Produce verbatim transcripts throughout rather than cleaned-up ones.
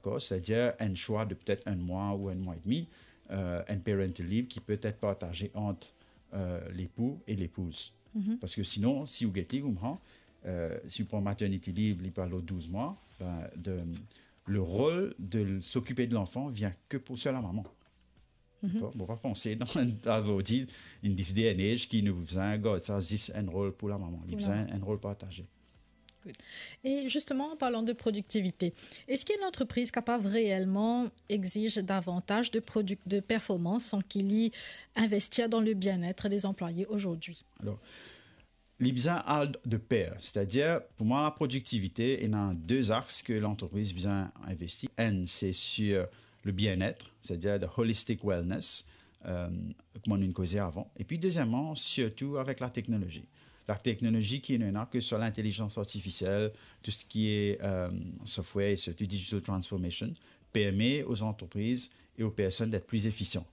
Dakor? Setadir enn swa de petet enn mwa ou enn mwa edmi, euh, enn parental leave ki pe et partaze ant, euh, lepou e lepouz. Parski sinon, si ou get li koumsa, euh, si ou pran maternity leave, li pe al lor douz mwa, ben, de, le rol de s'occuper de l'enfant vien ke pou sel la mama. Dakor? Bon, pa panse dan, azordi, in this day and age, ki nou bizin gard sa zis enn rol pou la mama. Li bizin enn rol partaze. Good. Et justement, en parlant de productivité, est-ce qu'une entreprise capable réellement exige davantage de produc-, de performance sans qu'il y investir dans le bien-être des employés aujourd'hui? Alor, li bizin al de per. Setadir, pou mwa, la produktivite, ena de aks ke lantrepriz bizin investi. Enn, se sir le bien-être, setadir the holistic wellness, euh, kouma nou'nn koze avan. Epi dezieman, sirtou avek la teknolozi. La teknolozi ki nou ena, ke swa lintelizans artifisiel, tou seki, euh, software e sirtou digital transformation, permet aux entreprises et aux personnes d'être plus efficients.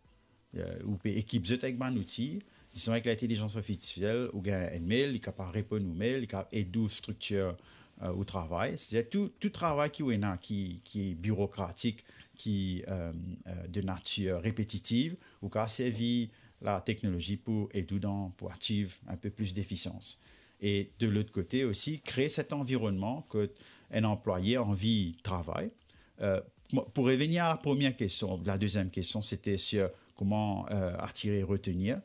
Euh, ou pe ekip zot avek bann outi, dizon avek lintelizans artifisiel, ou gagn enn mail, li kapav reponn ou mail, li kapav ed ou striktir, euh, ou travay. Setadir tou, tou travay ki ou ena ki, ki birokratik, ki, euh, euh, de natir repetitiv, ou kapav servi la teknolozi pou ed ou dan, pou achieve un peu plus d'efficience. Et de l'autre côté aussi, créer cet environnement kot enn anplwaye anvi travay. Euh, mo-, pou revenir à la première question, la deuxième question, c'était sur comment, euh, attirer et retenir.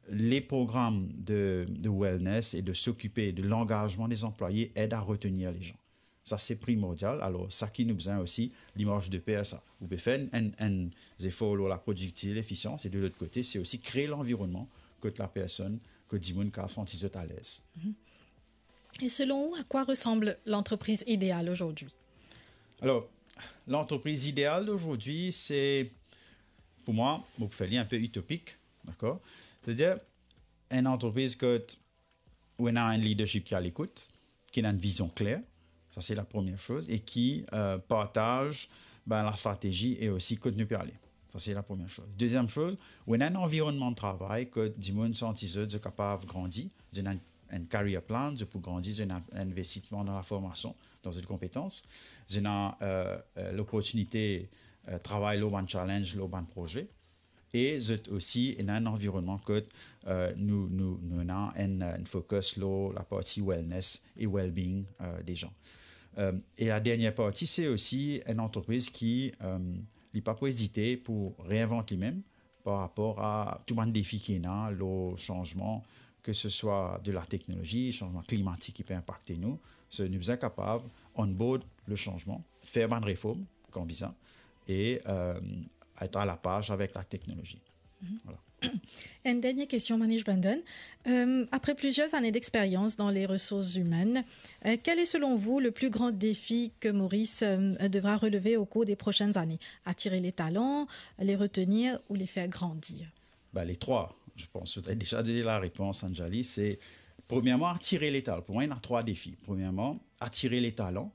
Les programmes de, de wellness et de s'occuper de l'engagement des employés aident à retenir les gens. Sa, se primordial. Alor, sa ki nou bizin osi, li mars de per sa. Ou pe fer enn, enn, enn zefor lor la produktivite, lefisians, e de lot kote, se osi kree lanvironnman kot la personn, kot dimoun kapav santi zot alez. Et selon vous, à quoi ressemble l'entreprise idéale aujourd'hui? Alor, lantrepriz ideal d'aujourd'hui, se, pou mwa, mo pou fer li inpe itopik, dakor? Setadir, enn lantrepriz kot ou ena enn leadership ki alekout, ki ena enn vizion kler, sa se la premie soz, e ki, euh, partaz, ben, la stratezi e osi kot nou pe ale. Sa se la premie soz. Deziem soz, ou ena enn anvironnman de travay kot dimoun santi zot, zot kapav grandi, zot ena enn, enn career plan, zot pou grandi, zot ena enn investisman dan la formasion, dan zot konpetans, zot ena, euh, euh, loportinite, euh, travay lor bann challenge, lor bann proze, e zot osi ena enn anvironnman kot, euh, nou, nou, nou ena enn, enn focus lor laparti wellness e well-being, euh, de zan. Euh, e la dernie parti, se osi enn lantrepriz ki, euh, li pa pou ezite pou reinvant limem par rapor a tou bann defi ki ena lor sanzman, ke se swa de la teknolozi, sanzman klimatik ki pe inpakte nou. So, nou bizin kapav onboard le sanzman, fer bann reform kan bizin, e, euh, et a la paz avek la teknolozi. Voilà. Une dernière question, Manish Bhandhan. Euh, après plusieurs années d'expérience dans les ressources humaines, euh, quel est selon vous le plus grand défi que Maurice, euh, devra relever au cours des prochaines années? Attirer les talents, les retenir ou les faire grandir? Ben, les trois, je pense. Vous avez déjà donné la réponse, Anjali. C'est, premièrement, attirer les talents. Pour moi, il y en a trois défis. Premièrement, attirer les talents.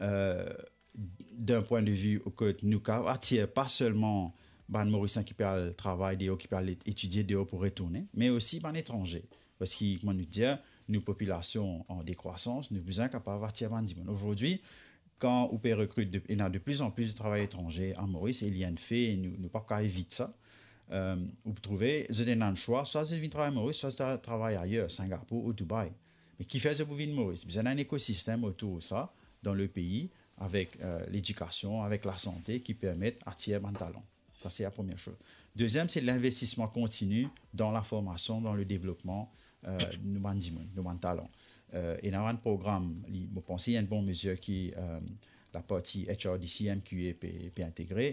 Euh, d'un point de vue kot nou kapav atir pa selman bann Morisien ki pe al travay deor, ki pe al etidie deor pou retourne, me osi bann etranze. Parski, kouma nou dir, nou popilasion an dekrwasans, nou bizin kapav atir bann dimoun. Azordi, kan ou pe rekrit, de, ena de plus en plus de travay etranze a Moris, e li enn fe, nou, nou pa kapav evit sa. Euh, ou pou trouve, zot ena enn swa, swa zot vinn travay Moris, swa zot al travay ayer, Singapour ou Dubai. Me kifer zot pou vinn Moris? Bizin ena enn ekosistem otour sa, dan le pei, avek, euh, ledikasion, avek lasante ki permet atir bann talan. Sa, se la premie soz. Deziem, se linvestisman kontini dan laformasion, dan le devlopman, euh, nou bann dimoun, nou bann talan. Euh, ena enn program, li, mo panse, enn bon mezir ki, euh, laparti H R D C, M Q A pe, pe integre,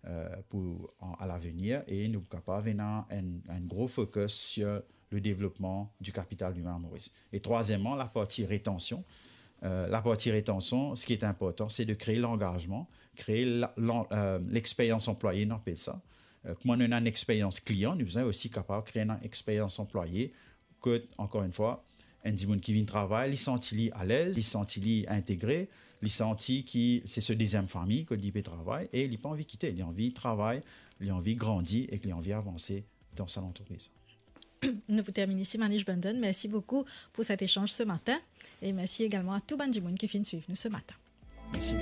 euh, pou, an, a lavenir, e nou kapav ena enn, enn gro focus sur le développement du capital humain à Maurice. Et troisièmement, la partie rétention. Euh, la partie rétention, ce qui est important, c'est de créer l'engagement, créer la, l'en-, euh, l'expérience employée, nou apel sa. Euh, kouma nou ena enn experience client, nou bizin osi kapav kree enn experience employé, kot, ankor enn fwa, enn dimoun ki vinn travay, li santi li alez, li santi li integre, li santi ki se so deziem fami kot li pe travay, e li pa anvi kite, li anvi travay, li anvi grandi ek li anvi avanse dan sa lantrepriz. Nou pou termine isi, Manish Bhandhan. Merci beaucoup pour cet échange ce matin. Et merci également à tout bann dimoun ki finn swiv nou ce matin. Mersi bien.